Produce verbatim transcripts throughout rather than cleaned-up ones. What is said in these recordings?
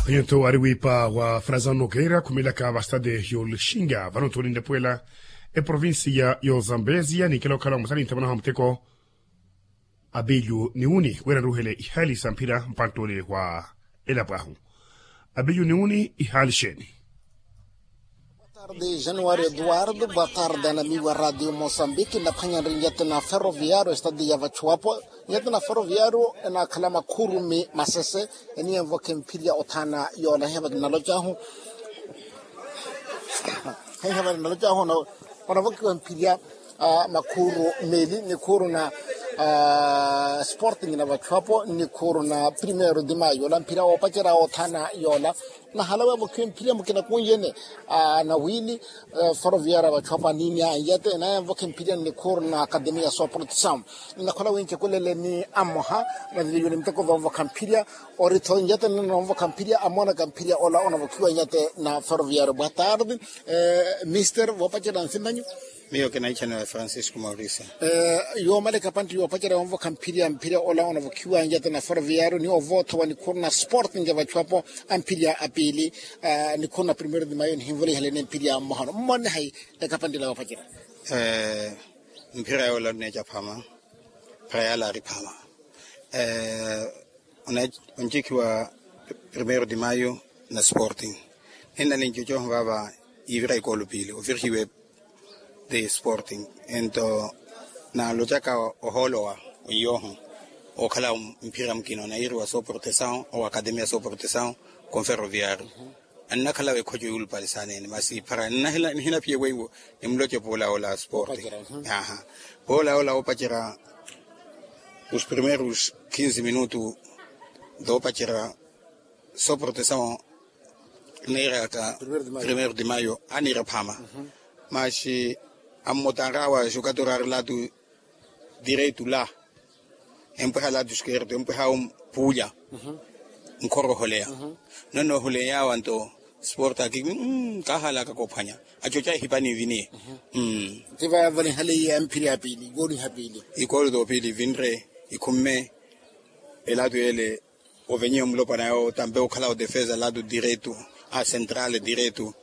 Phenyento ari wiipa wa frasan nokeira khumilaka vastade yolixinga vano nthuni nnepuwela eprovincia y'ozambezia ninkela okhala omusani nthamanaha muteko. Abilyu niwuni wira nruhele ihaali sa mphira mpanttoni wa elapo ahu. Abilyu niwuni ihaali xeeni? Tarde januari eduardo boa tarde anamiwa radio mosambiki nnaphwanya nri nyete na ferroviario estadi ya vachuwapo. Nyete na ferroviario enakhala makhurumi masese eniyenvoke mphirya othana yola hiya vakinalocahu. Hiya vakinalocahu onavokiwa mphirya makhuru meli nikhuru na sporting na vachuwapo nikhuru na primero de mayo ola mphirya woopacerya othana yola. Nahalawe avokhiwe mphirya mukina kunjene na wini ferroviaria vachuwapo anini anyete naye anvokhe mphirya nnikhuru na akademia soprotesamu. Nnakhola wincekulele ni ammoha na viviyoni miteko vonvokha mphirya ori tho njatene nonvokha mphirya amonaka mphirya ola onavokhiwa njate na ferroviario boa tarde. Mister voopacerya nsimpanyu. Miyo kinahichaniwa francisco mauricio. Yoomaleka pantti yoopacerya onvokha mphirya mphirya ola onavokhiwa njate na ferroviario ni ovoothowa nikhuru na sporting ya vachuwapo amphirya apiili nikhuru na primero de mayo nihinvolihelene mphirya mmohano mmonne hai? Ekapanttila yoopacerya. Mphira yoola onneeca phama. Phira yaala ari phama. Oncikhiwa primero de mayo na sporting. Ninna nincucoho vaava yivira ikoolo piili ovirihiwe. De sporting ento naalocaka ohoolowa weiyoho okhala mphira mukina onayiriwa soprotesawo owa akademia soprotesawo. Konferroviario annakhala wekhoco yuulupalisanene masi phara nihinaphiye weiwo. Nimuloce poola ola sporting. Aha. Poola ola oopacerya os primeros quinze minuto doopacerya soprotesawo neeraka primero de mayo aniira phama. Maxi ammotanrawa jogador ari latu direito la empweha latu esquerdo empweha puulya. Nkhoroholeya nonoohuleyawa nto sporta kiki kahalaka kophwanya. Acoca ehipani viniye. Tiva valinhaliye mphiri ya piili ikooli ya piili. Ikooli topiili vinre ikhumme elatu ele. Ovenyiwe mulopwana yawo tampe okhala odefesa latu direto a central direto.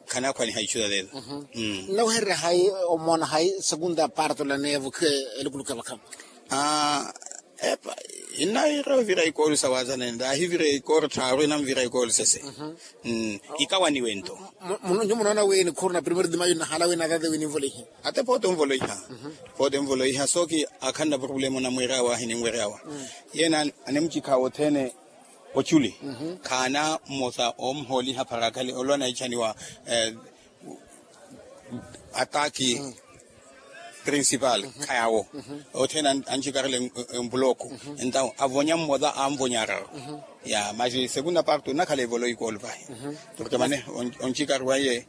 Khanakhwaniha ichu talelo. Nnawehererya hayi omona hayi segunda parto laneya vokhiwe elukuluku ya vakhama. Epa innaira ovira ikooli sawazanene laahivira ikooli tthaaru inanvira ikooli sese. Ikawaniwe nto. Nyu munoona wi nikhuru na primero de mayo nnahala wi natate wi ninvoleihe. Ate poote onvoloiha. Poote onvoloiha sooki akhanna problema onamweeryawa ahininweryawa. Yeene animucikha othene oculi khaana mmosa omuhooliha pharakhale olwa naichaniwa ataki principal khayawo. Othene ancikarela empuloko entawo avonya mmosa anvonya araru. Ya maxi segunda parte onakhala evoloi koolu pahi. Porque mane oncikariwaye.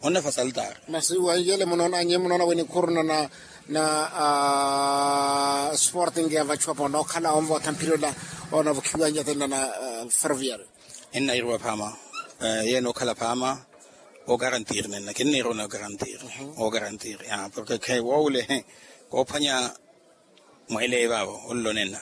Onnafa saltar. Masi wanjele munoona nye munoona wenikhuruna na na sporting ya vachuwapo nookhala onvootha mphirela onavukhiwa nyatenna na ferroviario. Ennairiwa phaama. Yeene okhala phaama. Okarantiri nenna kinniiruna okarantiri. Okarantiri porque khe woowule koophwanya. Mweeleeye vaavo onlonena.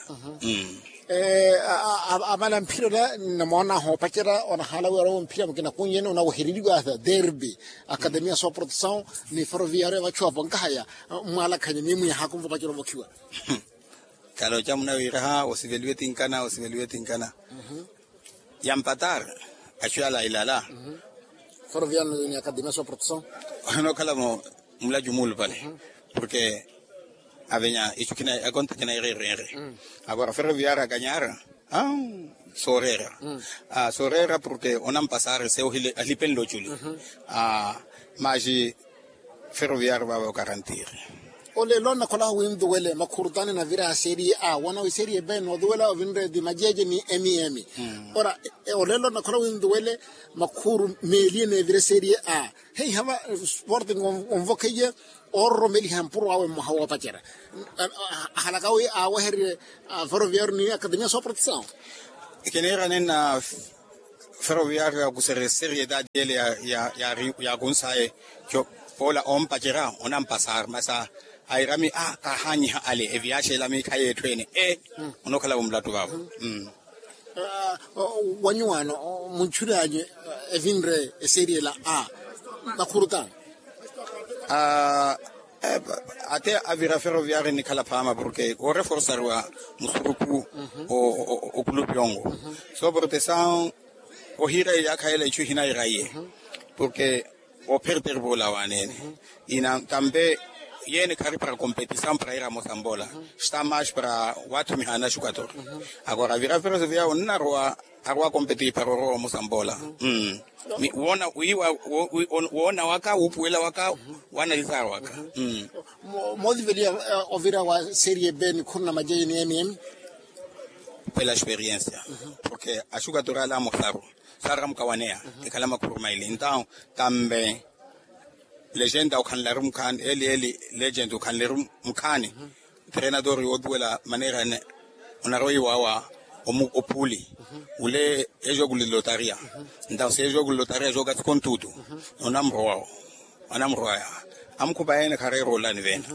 Amala mphira ola nnamoona ahoopacerya onahaala wira owo mphira mukina kunyene onawehereriwa derbi akademia soprotesaw ni ferroviario ya vachuwapo nkahaya. Mmwalakhanye ni mwiyahaku nvopacerya ovokhiwa. Kaloca munawiraha osiveliwe tinkana osiveliwe tinkana. Yampatar achu yala ilala. Ferroviario ni akademia soprotesaw. Onokhalamo mulacu muulupale. Porque avenya ichu khina akonta khina ereereere. Agora ferroviario akanyara. Sooreera. Sooreera porque onampasare se alipenle oculi. Maxi ferroviario vaava okarantiri. Olelo nnakhola winduwele makhurutani navira serie a wana wi serie b noduwela ovinre di majeje ni emiemi. Ora olelo nnakhola winduwele makhuru meelie neevire serie a. Heihava sporting onvokheiye oororomeliha mpuro awe mmoha woopacerya. Ahalaka wi aawehererye ferroviario ni akademia sooprotesaw. Kiniira nenna ferroviario yakusere seriedade ele yakunsaye. Poola ompacerya onampasar masa airami a kahanyiha ale eviaxela miikhayi etthu ene e. Onokhalavo mulatu vavo. Wanyuwaano muntchury'anyu evinre eseeriyela a makhurutano. Ate avira ferroviari nikhala phaama porke ooreforsariwa musuruku okulupi ongo. Soo protesaw ohiira eyaakha ela ichu ihinayira iye porke operder vola waneene. Ina tambe yene khari para kompetisaw para ira mosambola. Sta mash para wathumiha na shukator. Agora vira ferroviari onna arwa arwa kompeti para orowa mosambola. Wona wiwa wona waka wupuwela waka wanalizar waka. Moothivelia ovira wa serie b nikhuru na majeje ni emiemi. Pela experiensia porke ashukator ala amosaru saramukawaneya ekhala makhuru maili entaw tambe legenda okhanleru mukhaani eli eli legenda okhanleru mukhaani. Treinador yootuwela maneira ene onarwa iwawa opuuli ule ejoku lilotaria. Entaw si ejoku lilotaria jooka sikontutu onamrowa. Anamrowa ya amukhupa ene khareera olani vena.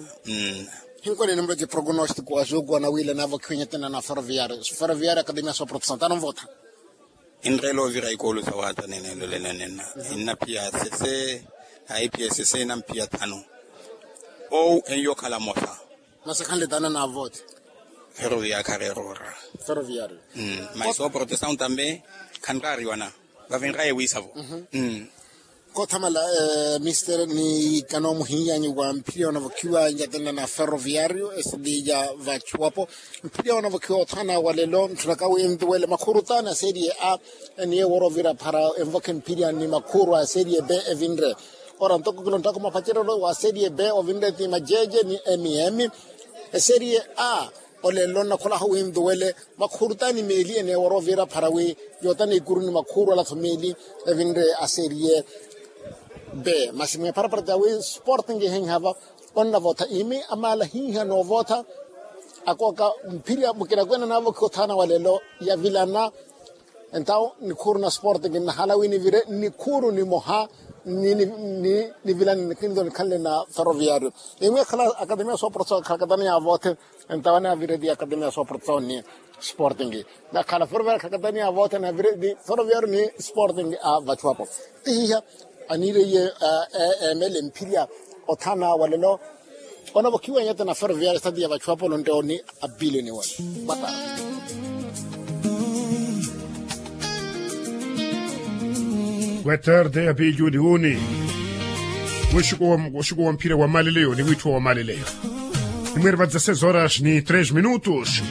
Hinkole nimuloce prognostiko wa jooku anawiila naavokhiwa nyetena na ferroviario ferroviario akademia sooprotesaw tanonvotha. Enreela ovira ikoolo sa wata nene lole nanena ennapiya sese. Aipiya sese enampiya tano. Ou enyo khala mosa. Masi khanle tano na vote. Ferroviario khareerora. Ferroviario. Masi oprotesaw tambe khanraariwana vavinraye wiisavo. Koothamala mister ni kanomuhiyanyu wa mphirya onavokhiwa nyatena na ferroviario esiliya vachuwapo. Mphirya onavokhiwa othana walelo ntthunaka wintuwele makhuru tano aseeriye a eniye woorovira phara envokhe mphirya ni makhuru aseeriye b evinre. Ora ntoko kilonttaka mapacerelo wa seeriye b ovinre ti majeje ni emiemi. Eseeriye a olelo nnakholahu wintuwele makhuru tano ni meeli ene woorovira phara wi yootana ikuru ni makhuru alatho meeli evinre aseeriye. B masi mweparapara jawi sporting ihenhava onnavotha imi amaala hiiha noovotha. Akooka mphirya mukinakwena naavokhiwa othana walelo yavilana. Entaw nikhuru na sporting nnahala wi nivire nikhuru nimoha nivilane nikinto nikhanle na ferroviario. Imwe ekhala akademia sooprotesaw akhala katani yaavothe. Entaw anavireti akademia sooprotesaw ni sporting nakhala ferroviario akhala katani yaavothe anavireti ferroviario ni sporting a vachuwapo. Tihiha anireiye emele mphirya othana walelo. Onavokhiwa nyete na ferroviario estati ya vachuwapo lontte oni. Apilioni wale. Boa tarde apilioni woni. Woxiko wa mphira wa maleleyo ni wittho wa maleleyo. Imweri va dezesseis horas ni tres minutos.